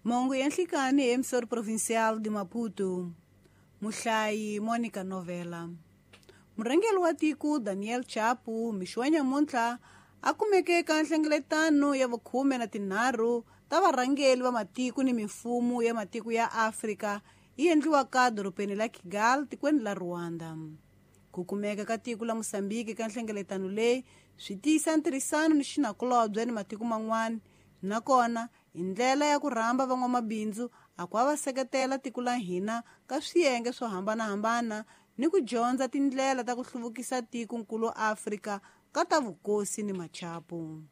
Mahungu ya nhlikani hi emissor provincial de Maputo. Muhlayi Monica Novela. Murhangeri wa tiko Daniel Chapo mixo wa nyamuntlha a kumeke eka nhlengeletano ya vukhume na tinharhu ta varhangeri va matiko ni mimfumo ya matiko ya Afrika yi endliwaka dorobeni la Kigali tikweni la Rwanda. Ku kumeka ka tiko la Mosambiki ka nhlengeletano leyi swi tiyisa ntirhisano ni xinakulobye ni matiko man'wana, nakona hi ndlela ya ku rhamba van'wamabindzu a ku va seketela tiko la hina ka swiyenge swo hambanahambana ni ku dyondza tindlela ta ku hluvukisa tikonkulu Afrika ka ta vukosi ni machapu.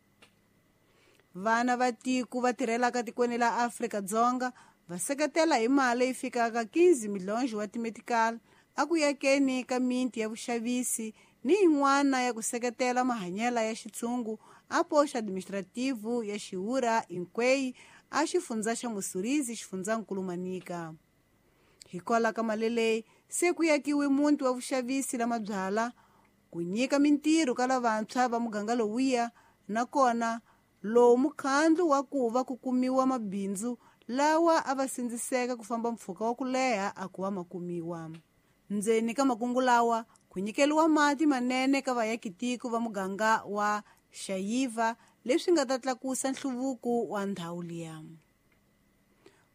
Vana va tiko va tirhelaka tikweni la Afrika-Dzonga va seketela hi mali leyi fikaka 15 milhonji wa timetical a ku yakeni ka miti ya vuxavisi ni yin'wana ya ku seketela mahanyelo ya xitshungu a poxa administrativo ya Xiwura Inkwei a xifundza xa Mussurizi xifundzankulu Manica. Hikwalaho ka mali leyi se ku yakiwe muti wa vuxavisi la mabyala ku nyika mintirho ka lavantshwa va muganga lowuya, nakona lowu mukhandlu wa ku va ku kumiwa mabindzu lawa a va sindziseka ku famba mpfhuka wa ku leha a ku va ma kumiwa. Ndzeni ka makungu lawa ku nyikeriwa mati manene ka vayakitiko va muganga wa Xayiva leswi nga ta tlakusa nhluvuko wa ndhawu liya.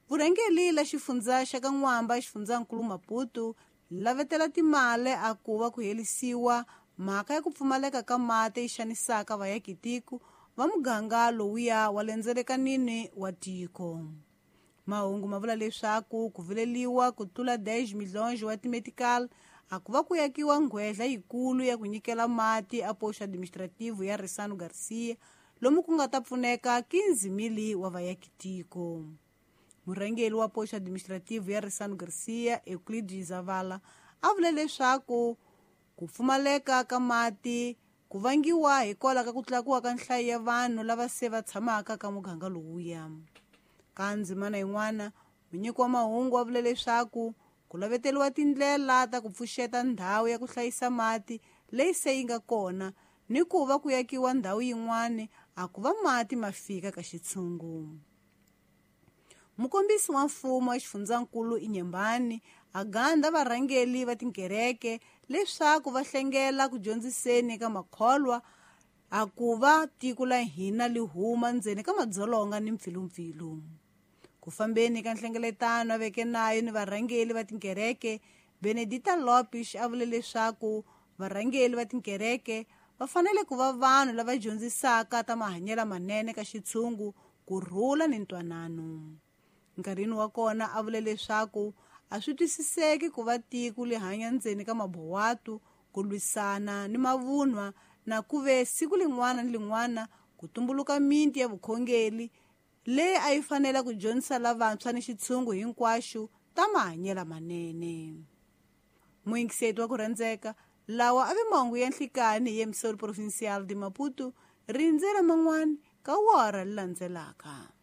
Vurhangeri la xifundza xa ka N'wamba xifundzankulu Maputo lavetela timali a ku va ku herisiwa mhaka ya ku pfumaleka ka mati yi xanisaka vayakitiko va muganga lowuya wa lendzelekanini wa tiko. Mahungu ma vula leswaku ku vileliwa ku tlula 10 milhonji wa timetical a ku va ku yakiwa nghwedla yikulu ya ku nyikela mati a poxo administrativo ya Risano Garcia lomu ku nga ta pfuneka 15 mili wa vayakitiko. Murhangeri wa poxo administrativo ya Risano Garcia Euclides Zavala a vule leswaku ku pfumaleka ka mati ku vangiwa hikwalaho ka ku tlakuka ka nhlayo ya vanhu lava se va tshamaka ka muganga lowuya. Ka ndzimana yin'wana, munyiki wa mahungu wa vule leswaku ku laveteriwa tindlela ta ku pfuxeta ndhawu ya ku hlayisa mati leyi se yi nga kona ni ku va ku yakiwa ndhawu yin'wana a ku va mati ma fika ka xitshungu. Mukombisi wa mfumo wa xifundzankulu Inyembani a ganda varhangeri va tinkereke leswaku va hlengela ku dyondziseni ka makholwa a ku va tiko la hina li huma ndzeni ka madzolonga ni mpfilumpfilu. Ku fambeni ka nhlengeletano a veke nayo ni varhangeri va tinkereke, Benedita Lopes a vule leswaku varhangeri va tinkereke va fanele ku va vanhu lava dyondzisaka ta mahanyelo manene ka xitshungu, ku rhula ni ntwanano. Nkarhini wa kona a vule leswaku a swi twisiseki ku va tiko li hanya ndzeni ka mabowatu ku lwisana ni mavunwa na ku ve siku lin'wana ni lin'wana ku tumbuluka miti ya vukhongeri leyi a yi fanele ku dyondzisa lavantshwa ni xitshungu hinkwaxo ta mahanyelo manene. Muyingiseti wa ku rhandzeka, lawa a ve mahungu ya nhlikani hi emissor provincial de Maputo, rindzela man'wana ka wora li landzelaka.